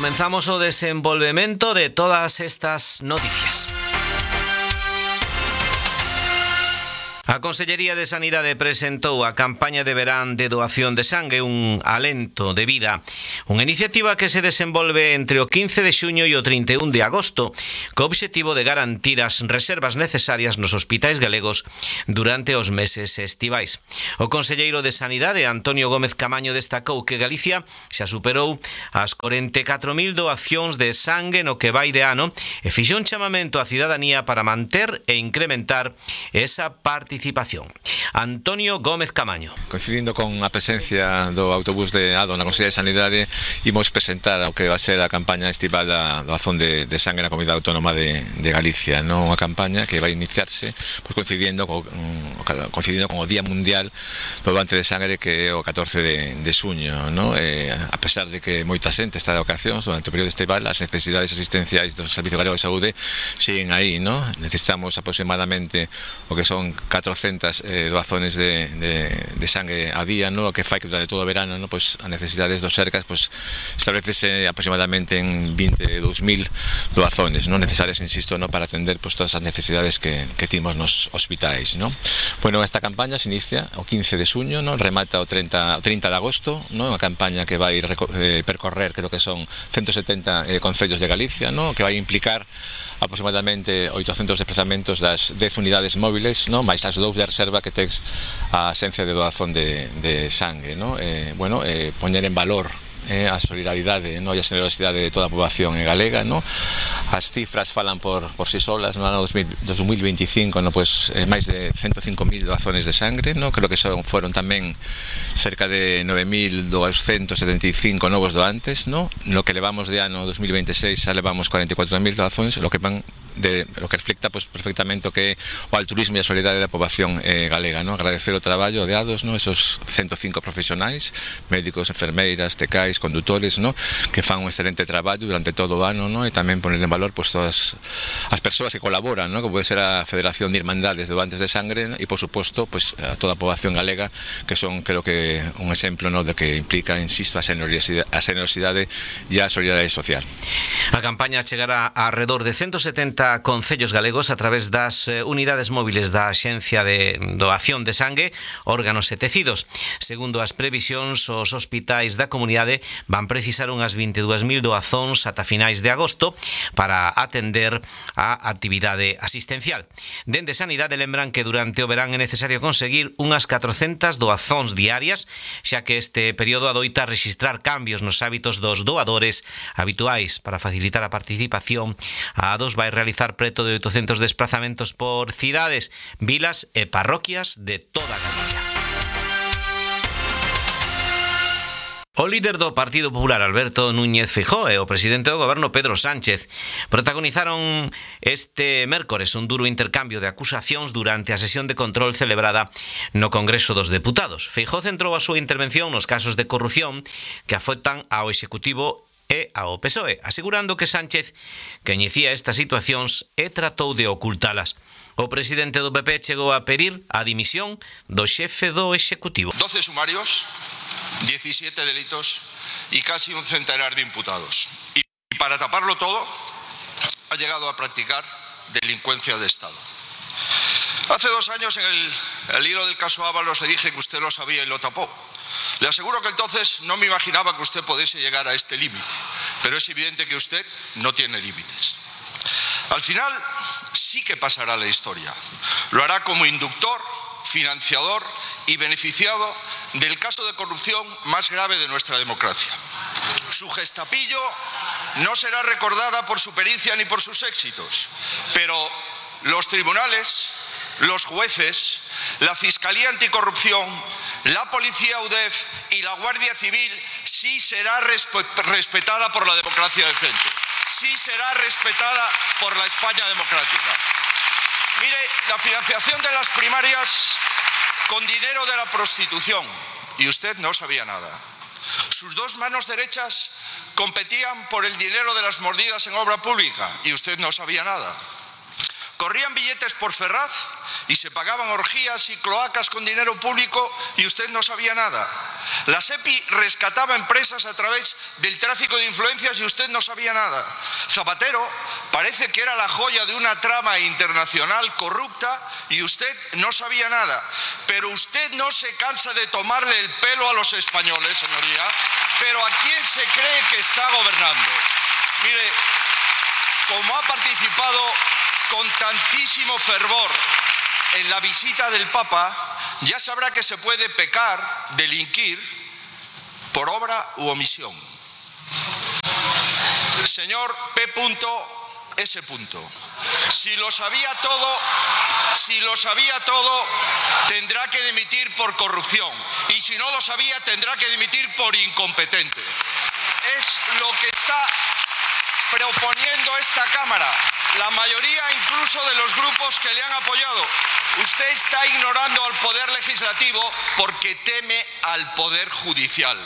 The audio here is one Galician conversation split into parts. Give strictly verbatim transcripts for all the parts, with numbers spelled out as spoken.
Comenzamos o desenvolvemento de todas estas noticias. A Consellería de Sanidade presentou a campaña de verán de doación de sangue, un alento de vida, unha iniciativa que se desenvolve entre o quince de xuño e o trinta e un de agosto, co obxectivo de garantir as reservas necesarias nos hospitais galegos durante os meses estivais. O conselleiro de Sanidade, Antonio Gómez Camaño, destacou que Galicia xa superou as corenta e catro mil doacións de sangue no que vai de ano e fixo un chamamento á cidadanía para manter e incrementar esa participación. Participación. Antonio Gómez Camaño. Coincidindo con a presencia do autobús de Ado na Consellería de Sanidade, imos presentar o que va a ser a campaña estival da doazón de, de sangue na Comunidade Autónoma de, de Galicia, non? Unha campaña que vai iniciarse pues, coincidindo, co, coincidindo con o Día Mundial do Doante de Sangre, que é o catorce de, de xuño, non? Eh, a pesar de que moita xente está de ocasións durante o período estival, as necesidades asistenciais do Servicio Galego de Saúde siguen aí, non? Necesitamos aproximadamente o que son catrocentas eh, doazones de, de, de sangue a día, ¿no? O que fai que durante todo o verano, ¿no? Pues, as necesidades dos cercas pues, establecese aproximadamente en veinte e dous mil doazones, ¿no? Necesarias, insisto, ¿no? Para atender pues, todas as necesidades que, que timos nos hospitais, ¿no? Bueno, esta campaña se inicia o quince de xuño, ¿no? Remata o trinta de agosto, ¿no? Unha campaña que vai eh, percorrer, creo que son ciento setenta eh, concellos de Galicia, ¿no? Que vai implicar aproximadamente oitocentos desplazamentos das dez unidades móviles, ¿no? Mais as dous de reserva que tex a Axencia de Doazón de, de Sangue, ¿no? Eh, bueno, eh, poñer en valor eh, a solidaridade, ¿no? E a generosidade de toda a poboación galega, ¿no? As cifras falan por, por si solas. No ano dos mil veinticinco, ¿no? Pues, eh, máis de ciento cinco mil doazones de sangre, ¿no? Creo que son, fueron tamén cerca de nove mil doscientos setenta e cinco novos doantes, ¿no? No que levamos de ano dos mil veintiséis xa levamos cuarenta e catro mil doazones, lo que van de lo que reflecta pues, perfectamente o que o altruismo e a solidaridade da poboación eh, galega, ¿no? Agradecer o traballo de Ados, ¿no? Esos ciento cinco profesionais, médicos, enfermeiras, tecais, condutores, ¿no? Que fan un excelente traballo durante todo o ano, ¿no? E tamén poner en valor pues, todas as persoas que colaboran, ¿no? Que pode ser a Federación de Irmandades de Doantes de Sangre, ¿no? E por suposto pues, a toda a poboación galega, que son creo que un exemplo, ¿no? De que implica, insisto, a generosidade, a generosidade e a solidaridade social. A campaña chegará a alrededor de ciento setenta concellos galegos a través das unidades móviles da Axencia de Doación de Sangue, órganos e tecidos. Segundo as previsións, os hospitais da comunidade van precisar unhas vinte e dúas mil doazóns ata finais de agosto para atender a actividade asistencial. Dende Sanidade lembran que durante o verán é necesario conseguir unhas catrocentas doazóns diarias, xa que este período adoita registrar cambios nos hábitos dos doadores habituais. Para facilitar a participación, a Ados vai realizar preto de oitocentos desplazamentos por cidades, vilas e parroquias de toda Galicia. O líder do Partido Popular, Alberto Núñez Feijóo, e o presidente do goberno, Pedro Sánchez, protagonizaron este mércores un duro intercambio de acusacións durante a sesión de control celebrada no Congreso dos Deputados. Feijóo centrou a súa intervención nos casos de corrupción que afectan ao Executivo e ao P S O E, asegurando que Sánchez coñecía estas situacións e tratou de ocultalas. O presidente do P P chegou a pedir a dimisión do xefe do Executivo. doce sumarios, diecisiete delitos y casi un centenar de imputados. Y para taparlo todo, ha llegado a practicar delincuencia de Estado. Hace dos años, en el, el hilo del caso Ábalos, le dije que usted lo sabía y lo tapó. Le aseguro que entonces no me imaginaba que usted pudiese llegar a este límite, pero es evidente que usted no tiene límites. Al final sí que pasará a la historia. Lo hará como inductor, financiador y beneficiado del caso de corrupción más grave de nuestra democracia. Su gestapillo no será recordada por su pericia ni por sus éxitos, pero los tribunales, los jueces, la Fiscalía Anticorrupción, la Policía U D E F y la Guardia Civil sí será respetada por la democracia decente, sí será respetada por la España democrática. Mire, la financiación de las primarias con dinero de la prostitución, y usted no sabía nada. Sus dos manos derechas competían por el dinero de las mordidas en obra pública, y usted no sabía nada. Corrían billetes por Ferraz y se pagaban orgías y cloacas con dinero público y usted no sabía nada. La SEPI rescataba empresas a través del tráfico de influencias y usted no sabía nada. Zapatero parece que era la joya de una trama internacional corrupta y usted no sabía nada. Pero usted no se cansa de tomarle el pelo a los españoles, señoría. Pero ¿a quién se cree que está gobernando? Mire, como ha participado con tantísimo fervor en la visita del Papa, ya sabrá que se puede pecar, delinquir, por obra u omisión. Señor P. S. Si lo sabía todo, si lo sabía todo, tendrá que dimitir por corrupción. Y si no lo sabía, tendrá que dimitir por incompetente. Es lo que está proponiendo esta Cámara, la mayoría incluso de los grupos que le han apoyado. Usted está ignorando al Poder Legislativo porque teme al Poder Judicial.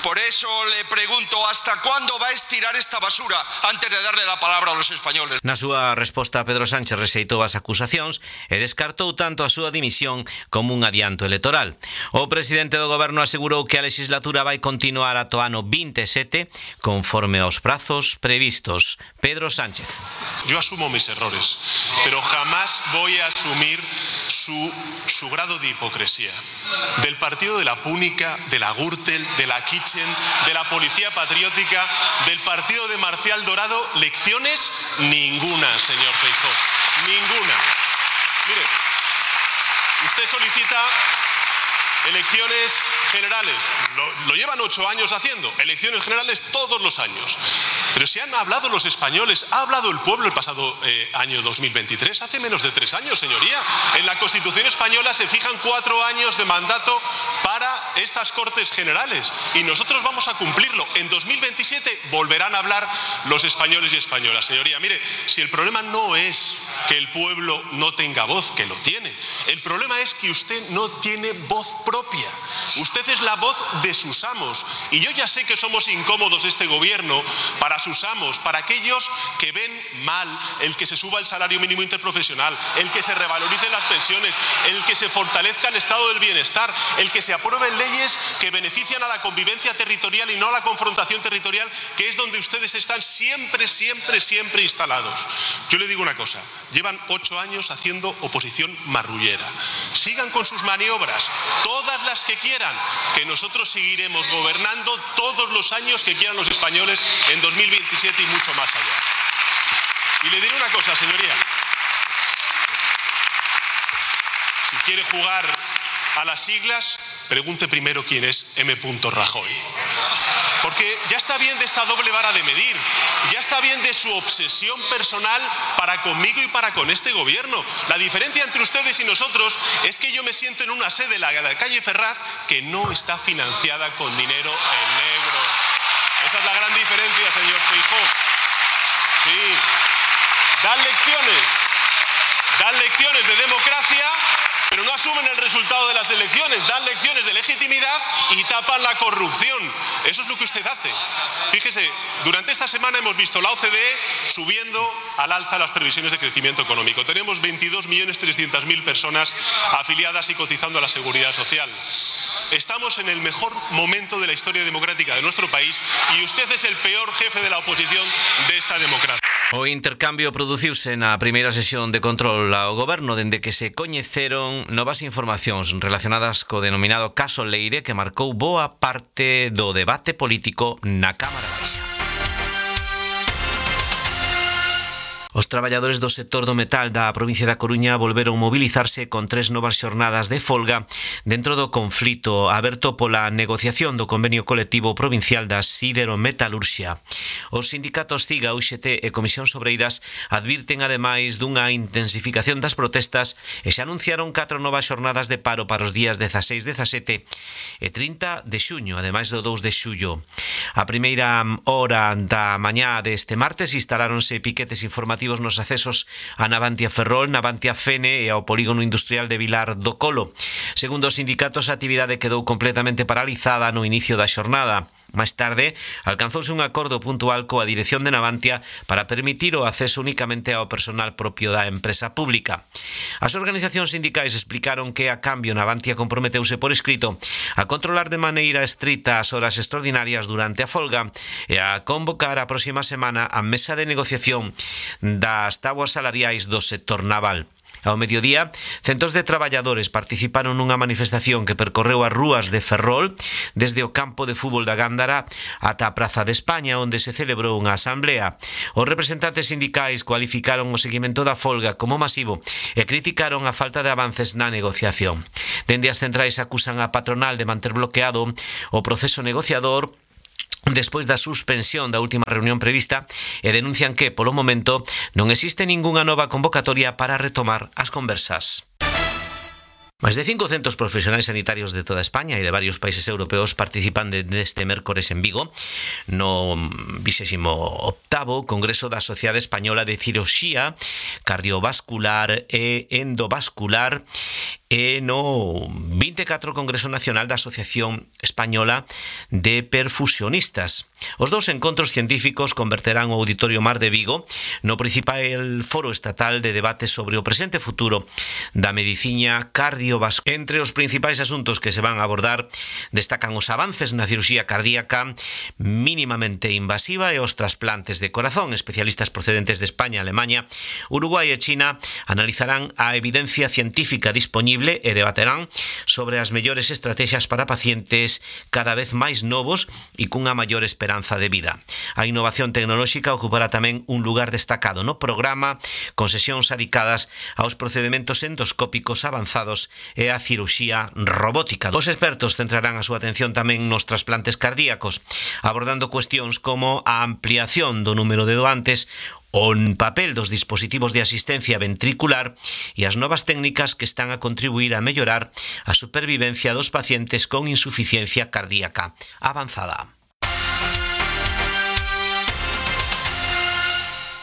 Por eso le pregunto, ¿hasta cuándo va a estirar esta basura antes de darle la palabra a los españoles? Na súa resposta, Pedro Sánchez rexeitou as acusacións e descartou tanto a súa dimisión como un adianto electoral. O presidente do goberno asegurou que a legislatura vai continuar ata o ano veintisiete conforme aos prazos previstos. Pedro Sánchez. Yo asumo mis errores, pero jamás voy a asumir su, su grado de hipocresía. Del partido de la Púnica, de la Gürtel, de la Kitchen, de la Policía Patriótica, del partido de Marcial Dorado, lecciones ninguna, señor Feijóo, ninguna. Mire, usted solicita elecciones generales, lo, lo llevan ocho años haciendo, elecciones generales todos los años. Pero si han hablado los españoles, ha hablado el pueblo el pasado eh, año dos mil veintitrés, hace menos de tres años, señoría. En la Constitución española se fijan cuatro años de mandato para estas Cortes Generales y nosotros vamos a cumplirlo. En dos mil veintisiete volverán a hablar los españoles y españolas. Señoría, mire, si el problema no es que el pueblo no tenga voz, que lo tiene, el problema es que usted no tiene voz propia. Usted es la voz de sus amos y yo ya sé que somos incómodos este gobierno para sus amos, para aquellos que ven mal el que se suba el salario mínimo interprofesional, el que se revaloricen las pensiones, el que se fortalezca el estado del bienestar, el que se aprueben leyes que benefician a la convivencia territorial y no a la confrontación territorial, que es donde ustedes están siempre, siempre, siempre instalados. Yo le digo una cosa, llevan ocho años haciendo oposición marrullera. Sigan con sus maniobras, todas las que quieran, que nosotros seguiremos gobernando todos los años que quieran los españoles en dos mil veintisiete y mucho más allá. Y le diré una cosa, señoría. Si quiere jugar a las siglas, pregunte primero quién es M. Rajoy. Porque ya está bien de esta doble vara de medir, ya está bien de su obsesión personal para conmigo y para con este gobierno. La diferencia entre ustedes y nosotros es que yo me siento en una sede, la de la calle Ferraz, que no está financiada con dinero en negro. Esa es la gran diferencia, señor Feijóo. Sí, dan lecciones, dan lecciones de democracia, pero no asumen el resultado de las elecciones, dan lecciones de legitimidad y tapan la corrupción. Eso es lo que usted hace. Fíjese, durante esta semana hemos visto la O C D E subiendo al alza las previsiones de crecimiento económico. Tenemos veintidós millones trescientas mil personas afiliadas y cotizando a la Seguridad Social. Estamos en el mejor momento de la historia democrática de nuestro país y usted es el peor jefe de la oposición de esta democracia. O intercambio produciuse na primeira sesión de control ao goberno dende que se coñeceron novas informacións relacionadas co denominado caso Leire que marcou boa parte do debate político na Cámara Baixa. Os traballadores do sector do metal da provincia da Coruña volveron mobilizarse con tres novas xornadas de folga dentro do conflito aberto pola negociación do convenio colectivo provincial da siderometalurxia. Os sindicatos CIGA, U X T e Comisións Obreiras advirten ademais dunha intensificación das protestas e xa anunciaron catro novas xornadas de paro para os días dezaseis, dezasete e trinta de xuño, ademais do dous de xullo. A primeira hora da mañá deste martes instaláronse piquetes informativos nos accesos a Navantia Ferrol, Navantia Fene e ao polígono industrial de Vilar do Colo. Segundo os sindicatos, a actividade quedou completamente paralizada no inicio da xornada. Máis tarde, alcanzouse un acordo puntual coa dirección de Navantia para permitir o acceso únicamente ao personal propio da empresa pública. As organizacións sindicais explicaron que, a cambio, Navantia comprometeuse por escrito a controlar de maneira estrita as horas extraordinarias durante a folga e a convocar a próxima semana a mesa de negociación das tabuas salariais do sector naval. Ao mediodía, centos de traballadores participaron nunha manifestación que percorreu as rúas de Ferrol desde o campo de fútbol da Gándara ata a Praza de España, onde se celebrou unha asamblea. Os representantes sindicais cualificaron o seguimento da folga como masivo e criticaron a falta de avances na negociación. Dende as centrais acusan a patronal de manter bloqueado o proceso negociador despois da suspensión da última reunión prevista e denuncian que, polo momento, non existe ningunha nova convocatoria para retomar as conversas. Máis de cincocentos profesionais sanitarios de toda España e de varios países europeos participan deste mércores en Vigo no vixésimo octavo Congreso da Sociedade Española de Cirurxía Cardiovascular e Endovascular e no vinte e catro Congreso Nacional da Asociación Española de Perfusionistas. Os dous encontros científicos converterán o Auditorio Mar de Vigo no principal foro estatal de debate sobre o presente e futuro da medicina cardiovascular. Entre os principais asuntos que se van a abordar destacan os avances na cirurxía cardíaca mínimamente invasiva e os trasplantes de corazón. Especialistas procedentes de España, Alemania, Uruguai e China analizarán a evidencia científica disponible e debaterán sobre as mellores estrategias para pacientes cada vez máis novos e cunha maior esperanza de vida. A innovación tecnolóxica ocupará tamén un lugar destacado no programa, con sesións dedicadas aos procedementos endoscópicos avanzados e a cirurxía robótica. Os expertos centrarán a súa atención tamén nos trasplantes cardíacos, abordando cuestións como a ampliación do número de doantes, o papel dos dispositivos de asistencia ventricular e as novas técnicas que están a contribuir a mellorar a supervivencia dos pacientes con insuficiencia cardíaca avanzada.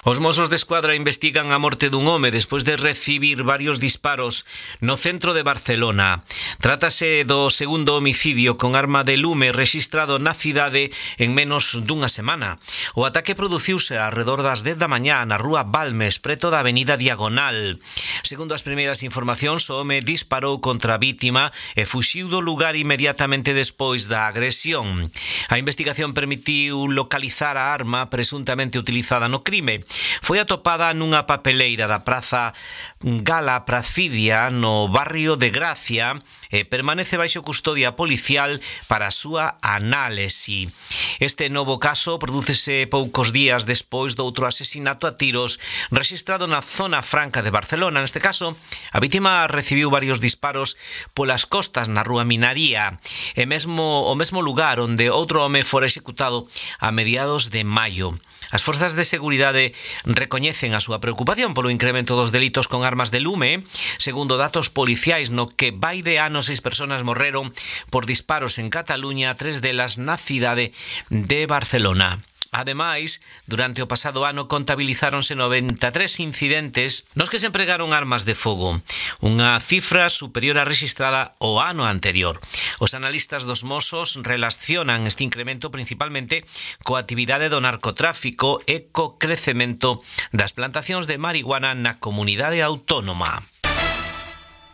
Os Mossos de Escuadra investigan a morte dun home despois de recibir varios disparos no centro de Barcelona. Trátase do segundo homicidio con arma de lume rexistrado na cidade en menos dunha semana. O ataque produciuse arredor das dez da mañá na rúa Balmes, preto da avenida Diagonal. Segundo as primeiras informacións, o home disparou contra a vítima e fuxiu do lugar inmediatamente despois da agresión. A investigación permitiu localizar a arma presuntamente utilizada no crime. Foi atopada nunha papeleira da Praza Gala Pracidia no barrio de Gracia e permanece baixo custodia policial para a súa análise. Este novo caso prodúcese poucos días despois do outro asesinato a tiros rexistrado na zona franca de Barcelona. Neste caso, a vítima recibiu varios disparos polas costas na rúa Minaría e mesmo o mesmo lugar onde outro home fora executado a mediados de maio. As forzas de seguridade recoñecen a súa preocupación polo incremento dos delitos con armas de lume. Segundo datos policiais, no que vai de ano seis persoas morreron por disparos en Cataluña, tres delas na cidade de Barcelona. Ademais, durante o pasado ano contabilizáronse noventa e tres incidentes nos que se empregaron armas de fogo, unha cifra superior á rexistrada o ano anterior. Os analistas dos Mossos relacionan este incremento principalmente coa actividade do narcotráfico e co crecemento das plantacións de marihuana na comunidade autónoma.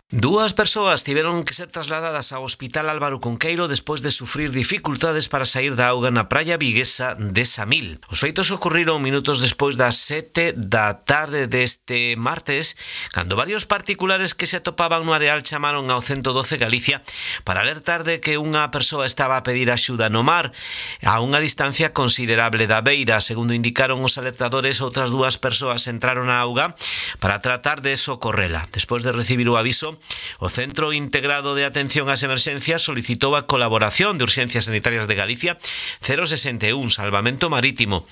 Dúas persoas tiveron que ser trasladadas ao Hospital Álvaro Cunqueiro despois de sufrir dificultades para sair da auga na praia viguesa de Samil. Os feitos ocorriron minutos despois das sete da tarde deste martes, cando varios particulares que se atopaban no areal chamaron ao ciento doce Galicia para alertar de que unha persoa estaba a pedir axuda no mar a unha distancia considerable da beira. Segundo indicaron os alertadores, outras dúas persoas entraron á auga para tratar de socorrela. Despois de recibir o aviso, o Centro Integrado de Atención ás Emerxencias solicitou a colaboración de Urxencias Sanitarias de Galicia cero sesenta e un Salvamento Marítimo,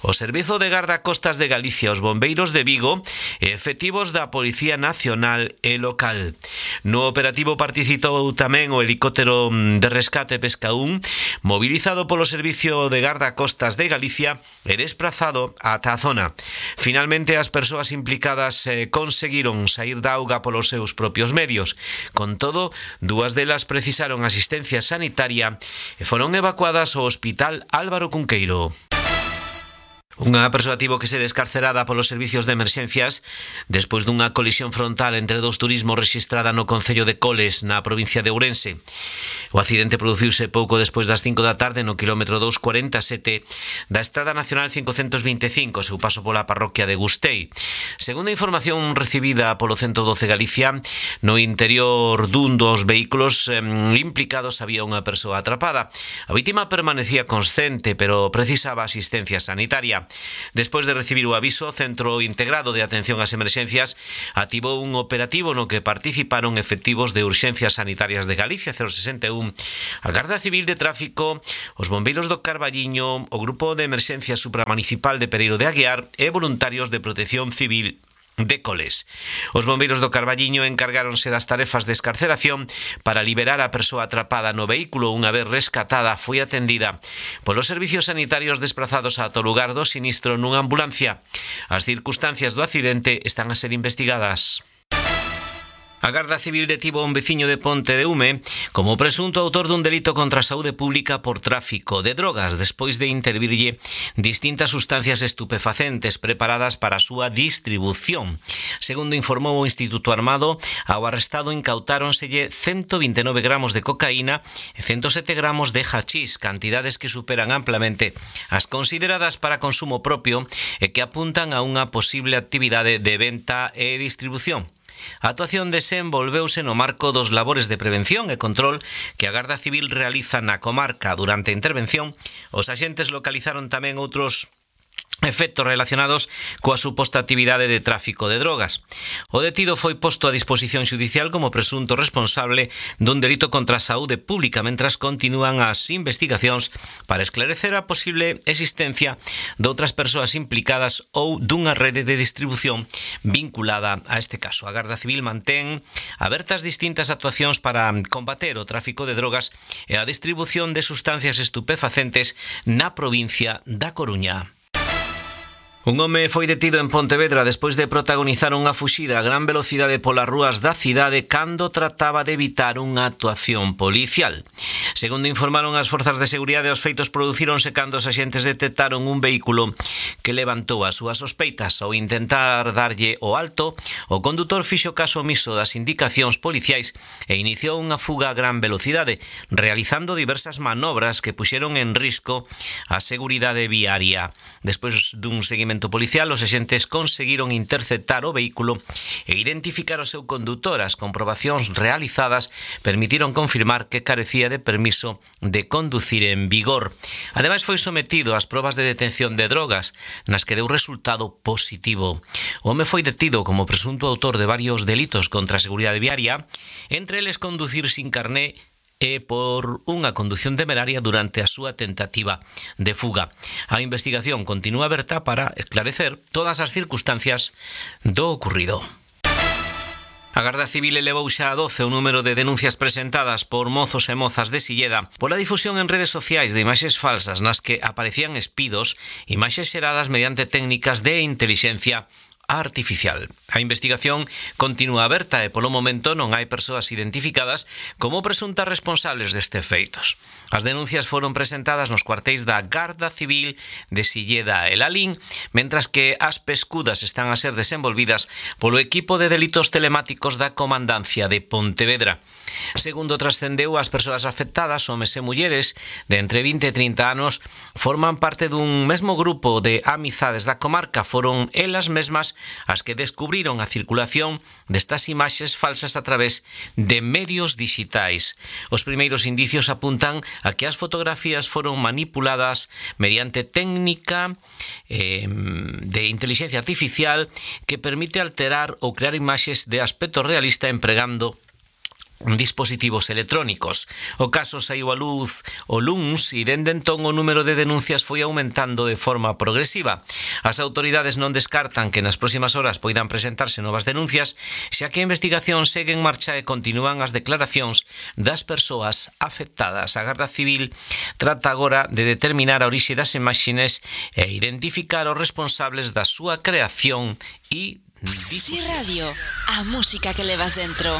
o Servizo de Gardacostas de Galicia, os Bombeiros de Vigo e efectivos da Policía Nacional e local. No operativo participou tamén o helicóptero de rescate Pesca un, mobilizado polo Servicio de Gardacostas de Galicia e desplazado ata a zona. Finalmente, as persoas implicadas eh, conseguiron sair da auga polos seus propios os medios. Con todo, dúas delas precisaron asistencia sanitaria e foron evacuadas ao Hospital Álvaro Cunqueiro. Unha persoa tivo que ser escarcerada polos servicios de emerxencias despois dunha colisión frontal entre dous turismos rexistrada no concello de Coles, na provincia de Ourense. O accidente produciuse pouco despois das cinco da tarde no quilómetro doscientos cuarenta e sete da Estrada Nacional cincocentos vinte e cinco, seu paso pola parroquia de Gustei. Segundo a información recibida polo ciento doce Galicia, no interior dun dos vehículos eh, implicados había unha persoa atrapada. A vítima permanecía consciente, pero precisaba asistencia sanitaria. Despois de recibir o aviso, o Centro Integrado de Atención ás Emerxencias activou un operativo no que participaron efectivos de Urxencias Sanitarias de Galicia, cero sesenta e un, a Garda Civil de Tráfico, os bombeiros do Carballiño, o Grupo de Emerxencia Supramunicipal de Pereiro de Aguiar e voluntarios de Protección Civil de Coles. Os bombeiros do Carballiño encargáronse das tarefas de escarceración para liberar a persoa atrapada no vehículo. Unha vez rescatada, foi atendida polos servicios sanitarios desprazados ata o lugar do sinistro nunha ambulancia. As circunstancias do accidente están a ser investigadas. A Garda Civil detivo a un veciño de Ponte de Ume como presunto autor dun delito contra a saúde pública por tráfico de drogas despois de intervirlle distintas sustancias estupefacentes preparadas para a súa distribución. Segundo informou o Instituto Armado, ao arrestado incautáronselle ciento vinte e nove gramos de cocaína e ciento sete gramos de hachís, cantidades que superan amplamente as consideradas para consumo propio e que apuntan a unha posible actividade de venta e distribución. A actuación desenvolveuse no marco dos labores de prevención e control que a Garda Civil realiza na comarca. Durante a intervención, os axentes localizaron tamén outros efectos relacionados coa suposta actividade de tráfico de drogas. O detido foi posto a disposición xudicial como presunto responsable dun delito contra a saúde pública, mentras continúan as investigacións para esclarecer a posible existencia de outras persoas implicadas ou dunha rede de distribución vinculada a este caso. A Garda Civil mantén abertas distintas actuacións para combater o tráfico de drogas e a distribución de sustancias estupefacentes na provincia da Coruña. Un home foi detido en Pontevedra despois de protagonizar unha fuxida a gran velocidade polas rúas da cidade cando trataba de evitar unha actuación policial. Segundo informaron as forzas de seguridade, os feitos producíronse cando os axentes detectaron un vehículo que levantou as súas sospeitas. Ao intentar darlle o alto, o condutor fixo caso omiso das indicacións policiais e iniciou unha fuga a gran velocidade, realizando diversas manobras que puxeron en risco a seguridade viaria. Despois dun seguimento policial, os axentes conseguiron interceptar o vehículo e identificar o seu condutor. As comprobacións realizadas permitiron confirmar que carecía de permiso de conducir en vigor. Ademais, foi sometido ás probas de detención de drogas, nas que deu resultado positivo. O home foi detido como presunto autor de varios delitos contra a seguridade viaria, entre eles conducir sin carné e por unha condución temeraria durante a súa tentativa de fuga. A investigación continúa aberta para esclarecer todas as circunstancias do ocurrido. A Garda Civil elevou xa a doce o número de denuncias presentadas por mozos e mozas de Silleda pola difusión en redes sociais de imaxes falsas nas que aparecían espidos, imaxes xeradas mediante técnicas de intelixencia artificial. A investigación continúa aberta e polo momento non hai persoas identificadas como presuntas responsables destes feitos. As denuncias foron presentadas nos cuartéis da Garda Civil de Silleda e Lalín, mentras que as pescudas están a ser desenvolvidas polo equipo de delitos telemáticos da Comandancia de Pontevedra. Segundo trascendeu, as persoas afectadas, homes e mulleres de entre vinte e trinta anos, forman parte dun mesmo grupo de amizades da comarca. Foron elas mesmas as que descubriron a circulación destas imaxes falsas a través de medios digitais. Os primeiros indicios apuntan a que as fotografías foron manipuladas mediante técnica eh, de inteligencia artificial que permite alterar ou crear imaxes de aspecto realista empregando dispositivos electrónicos. O caso saiu a luz o luns e dende entón o número de denuncias foi aumentando de forma progresiva. As autoridades non descartan que nas próximas horas poidan presentarse novas denuncias, xa que a investigación segue en marcha e continúan as declaracións das persoas afectadas. A Garda Civil trata agora de determinar a orixe das imaxes e identificar os responsables da súa creación e Discusión. Si Radio, a música que levas dentro.